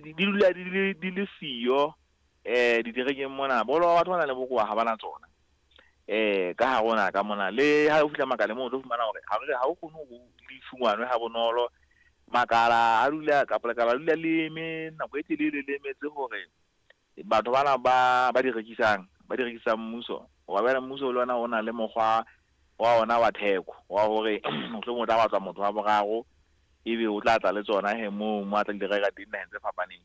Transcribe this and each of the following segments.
Di dula di le siyo diterekeng mona. Boholo ba batho ba nang le bokowa ha ba na tsona ka hare ho naha ka mona. Le ha o fihla makaleng moo, o tlo fumana hore ha o kgone hore di fumanwe ha bonolo. Makala a dula, kapa lekala le dula le eme nako e telele, le emetse hore batho bana ba di rekisang, ba di rekisang mmuso. Hoba jwale mmuso le ona o na le mokgwa wa ona wa theko wa hore mohlomong o tla batlwa motho wa boraro, ebe o tla tla le tsona he moo mo a tla di reka teng naheng tse fapaneng.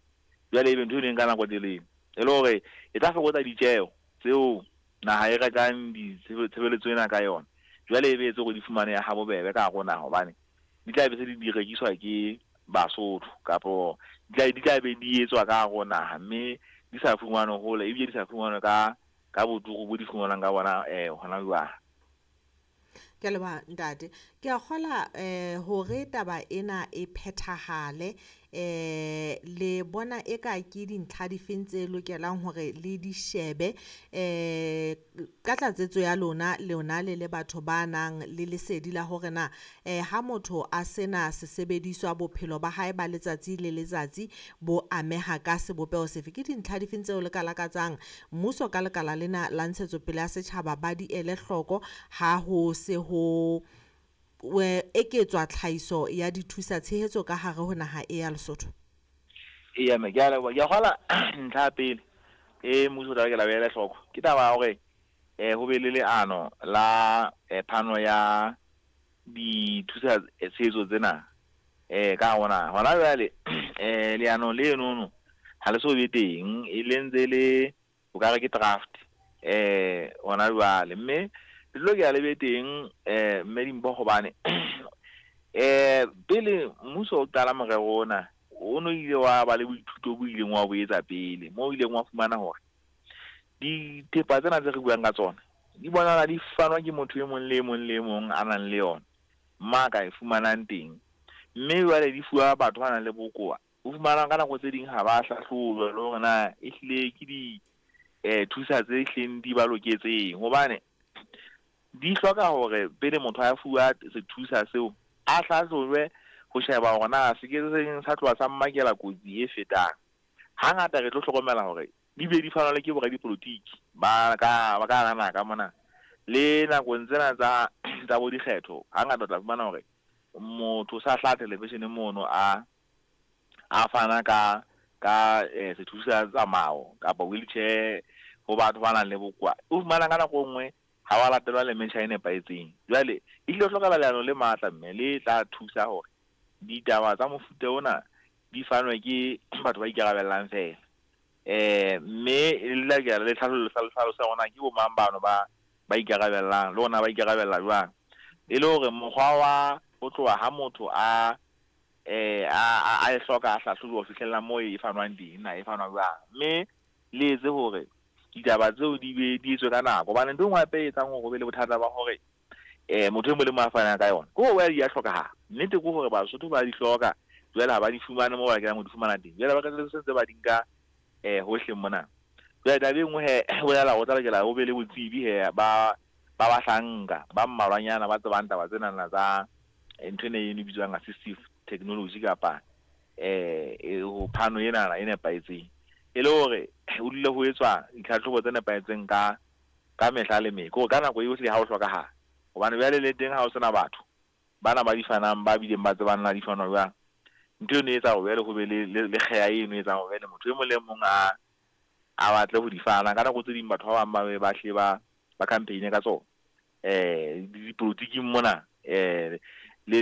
Jwale ebe ntho e leng ka nako e telele, e le hore e tla fokotsa ditjeho tseo naha e rekang ditshebeletso ena ka yona. Jwale e be etse hore di fumanehe ha bobebe ka hare ho naha, hobane di tla be se di rekiswa ke Basotho, kapo di tla be di etswa ka hare ho naha, mme di sa fumanwe hole, ebile di sa fumanwe ka boturu bo di fumanwang ka bona hona jwale. Ke a leboha, ntate. Ke a kgola hore taba ena e phethahale, le bona eka ke dintlha difeng tse lokelang hore le di shebe ka tlatsetso ya lona, lona le le batho ba nang le lesedi la hore na ha motho a sena sesebediswa, bophelo ba hae ba letsatsi le letsatsi bo ameha ka sebopeho sefe? Ke dintlha difeng tseo le ka lakatsang mmuso ka lekala lena la ntshetsopele ya setjhaba ba di ele hloko ha ho se ho eketswa tlhahiso ya dithusa tshehetso ka hare ho naha e ya Lesotho? Eya mme, ke a leboha. Ke a kgola ntlha ya pele e mmuso o tla lokela o ele hloko ke taba ya hore ho be le leano la phano ya dithusa tshehetso tsena ka hare ho naha. Hona jwale leano lenono ha le so be teng, e le ntse le o ka re ke draft hona jwale, mme le lokela le be teng, mme Dimpho, hobane pele mmuso o qala morero ona, o no ile wa ba le boithuto bo ileng wa bo etsa pele, moo o ileng wa fumana hore dithepa tsena tse re buang ka tsona di bonahala di fanwa ke motho e mong le e mong le e mong a nang le yona, ma ka e fumanang teng, mme jwale di fuwa batho ba nang le bokowa. O fumana ka nako tse ding ha ba hlahlojwa le hore na ehlile ke di thusa tse hlileng di ba loketseng, hobane di hloka hore pele motho a fuwa sethusa seo a hlahlojwe ho sheba hore na se ke seng sa tloha sa mmakela kotsi e fetang. Hangata re tlo hlokomela hore di be di fanwa le ke boradipolotiki ba ka hara naha ka mona. Le nakong tsena tsa bo dikgetho, hangata o tla fumana hore motho sa hlaha television mono a fana ka sethusa tsamao kapa wheelchair ho batho ba nang le bokowa. O fumana ka nako e nngwe ha wa latelwa le metjha e nepahetseng. Jwale e hlile hlokahala leano le matla, mme le tla thusa hore ditaba tsa mofuta ona di fanwe ke batho ba ikarabellang fela, mme le lokela le tlhaloso ya hore na ke bo mang bano ba ikarabellang, le hore na ba ikarabella jwang, e le hore mokgwa wa ho tloha ha motho a e hloka, a hlahlojuwa ho fihlella moo e fanwang teng, na e fanwa jwang, mme le etse hore ditaba tseo di be di etswe ka nako. Hobane ntho e nngwe hape e etsang hore ho be le bothata ba hore motho e mong le mong a fanang ka yona ke hore di a hlokahala. Nnete ke hore Basotho ba di hloka, jwale ha ba di fumane moo ba lokelang ho di fumana teng. Jwale ba qetelletse ntse ba di nka hohle mona. Jwale taba e nngwe he bolela ho tla lokela ho be le botsebi he ba bahlanka ba mmalwanyana ba tsebang taba tsenana tsa ntho ena e bitswang assistive technology, kapa ho phano enana e nepahetseng, e le hore ho dule ho etswa ditlhatlhobo tse nepahetseng ka mehla le meko, hore ka nako yohle ha ho hlokahala. Hobane jwale le teng ha ho sena batho bana ba di fanang, ba bileng ba tsebang na di fanwa jwang, ntho eno e etsa hore jwale ho be le kgeha eno e etsang hore jwale motho e mong le mong a batle ho di fana. Ka nako tse ding batho ba bang ba be ba hle ba campaign ka tsona dipolotiking mona, le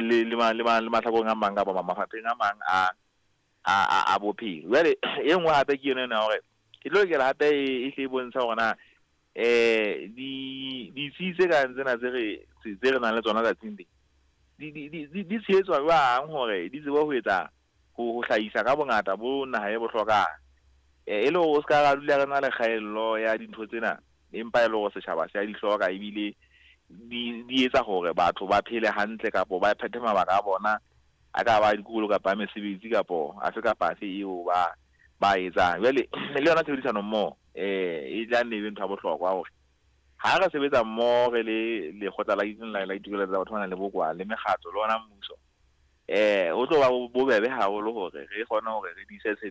mahlakoreng a mang kapa mafapheng a mang a bophelo. Jwale e nngwe hape ke yona ena ya hore e tlo lokela hape e hle e bontsha hore na di ditsi tse kang tsena tse re nang le tsona tsatsing le di tshehetswa jwang hore di tsebe ho etsa ho hlahisa ka bongata bo naha e bo hlokang, e le hore o ska ra dula re na le kgaello ya dintho tsena, empa e le hore setjhaba se a di hloka, ebile di etsa hore batho ba phele hantle kapo ba phethe mabaka a bona, a ka ba dikolo kapa a mesebetsi kapo afe kapa afe eo ba etsang. Jwale le yona tshebedisano mmoho e tla nne e be ntho ya bohlokwa, hore ha re sebetsa mmoho re le lekgotla la ditokelo tsa batho ba nang le bokowa, le mekgatlo, le ona mmuso, ho tlo ba bobebe haholo hore re kgone hore re diise.